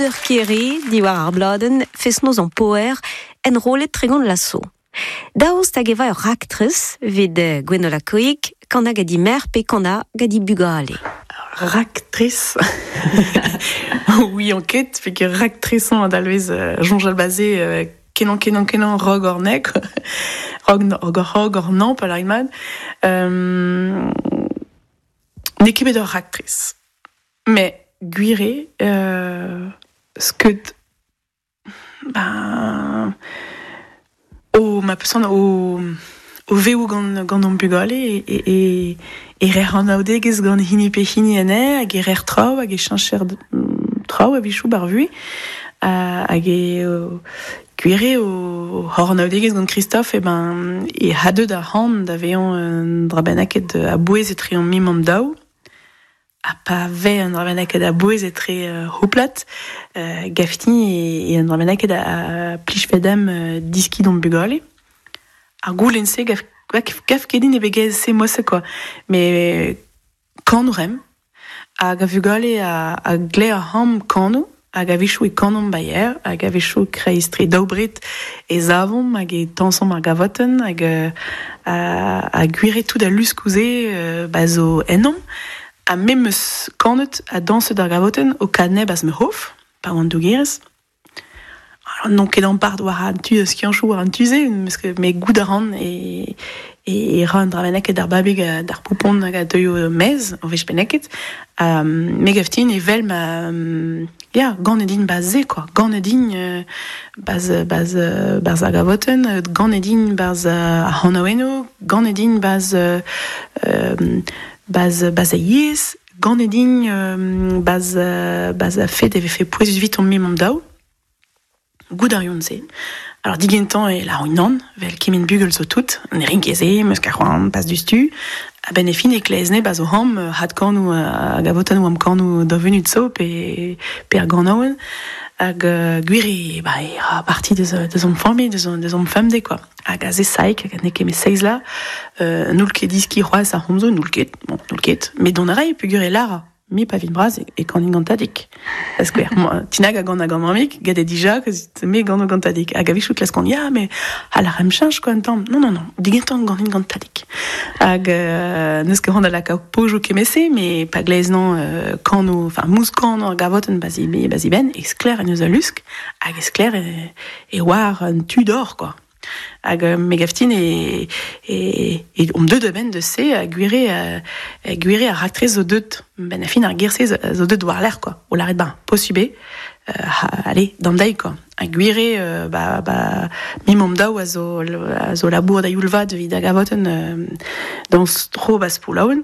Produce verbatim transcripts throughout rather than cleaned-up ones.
Breudeur Kere, diwar ar bladenn, fest-noz an Poer, enrollet tregont lasso. Daoust hag eva ur raktres evit Gwenola Coic, kana gadi mer pe kana gadi bugale. Raktres. Oui, enquête, fait que raktreson adalvez jonjal basé kenan kenan kenan rog ornek rog rog rog ornan pa larimad. Euh, n'eo ket bet ur raktres. Mais gwire euh, skeud ben o ma peus o o vev gant gant an bugale e e e e rer an aodegez gant hini pe hini ane hag e rer traoù hag e cheñcher traoù a vichou bar vui hag e gwire o hor an aodegez gant Christophe e ben e hadeud ar c'han da vezañ un dra bennaket a bouez etre an mim an daou a pa ve un dra bennaket a bouez etre uh, houplat uh, gafti e, e un dra bennaket a, a plij fedem uh, diski d'an bugale. Ar goulenn se gaf, gaf ket din e begez se mosse quoi. Mais kanoù rem hag a vugale a, a gle ar ham kanoù hag a vichou e kanomp bayer hag a vichou kreiz tre daoubret e zavomp hag e tañsomp ar gavotenn hag a, a gwire tout a luskouze euh, ba zo ennomp ha memes kanet a dañset ar gavotenn o kadneb az me hof pa oan dougerez. Alors, non ket ampart war an tu skianchou war an tu-se, me goût a ran e, e, e ra an dra bennaket d'ar babig d'ar poupon hag a deuio mez, o vech bennaket. Um, me gaftin e vel ma... Um, ya, gant edin baz se, quoi. Gant edin euh, baz, baz, baz ar gavotenn, gant edin baz ar c'hanaouennoù, gant edin baz, euh, baz, baz a yezh, gant edin euh, baz, baz a fet e vefe pouezus vit on mim an daou. Goût ar yon se. Alors digentan e la nan, vel kemen bugel zo tout, ne rin ket se, meus ket c'hoant pas dustu, a ben e fin e klezne baz o ham, had kanoù hag a votan am kanoù da venut zo pe, pe ar ganaouenn, hag uh, gwir e, ba, e ra parti deus, deus am familh, deus, deus am femde, quoi. Hag a ze saik, hag a ne ket me seiz la, euh, n'oul ket diski c'hoazh ar c'homzo, n'oul ket, bon, n'oul ket, met dont a ray pugur e lara. Mi pa vin braz e, e kanin gant tadik. Parce que moi, tinag a gant a gant mamik, gant e dija, me gant o gant tadik. Hag a vichout klaskont, ya, mais a la rem change quoi, un tamm. Non, non, non, digentan ganin gant tadik. Hag euh, neus ket c'hoant da lakaat pojo kemese, mais pa glez non euh, kano, enfin, mous kano ar gavotenn bazi, bazi ben, e skler en eus a lusk, hag e skler e, e war un tu d'or, quoi. Hag euh, me gaftin e, e, e om deut a ben de se a gwire a, a gwire a raktres zo deut ben a fin ar gerse zo deut war l'air quoi o laret ben posube euh, ha, allez d'an deiz quoi a gwire euh, ba ba mim om daou a zo a zo labour da youlvad evit a gavotenn euh, dans tro bas poulaoun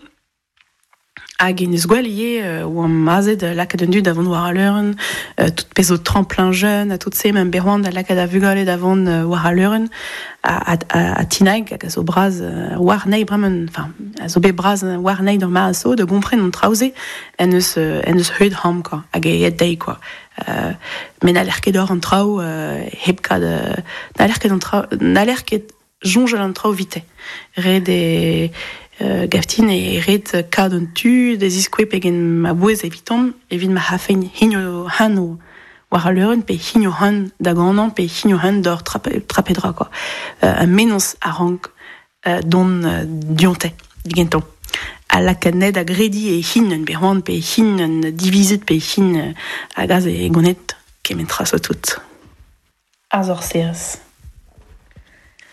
hag en eus gwell ivez euh, oa mazet lakaat un dud da vont war al leurenn, euh, tout pezh zo tremplin jeune, a tout se meum bet c'hoant da lakaat a vugale da vont euh, war al leurenn, a, a, a, a tinag hag a zo braz euh, war nei bremen, enfin, a zo bet braz war nei d'ur ma a zo, de gompren an traoù-se en eus, euh, en eus heud ham, quoi, hag e et deiz, quoi. Euh, met n'haller ket d'or an traoù, euh, hep kad, euh, n'haller ket an traoù, n'haller ket soñjal an traoù vite. Ret e Euh, gaftin e ret kad an tu da ziskoue pegen ma bouez evitomp evit ma c'hafein hinio han war al leurenn pe hinio han da ganañ pe hinio han d'or trape, trapedra quoi. Euh, un mennozh a rank euh, don euh, dionte digentan. A lakaat ned a gredi e hin un berc'hoant pe hin un divizet pe hin hag az e gonet kement tra zo tout. Ar zorserez.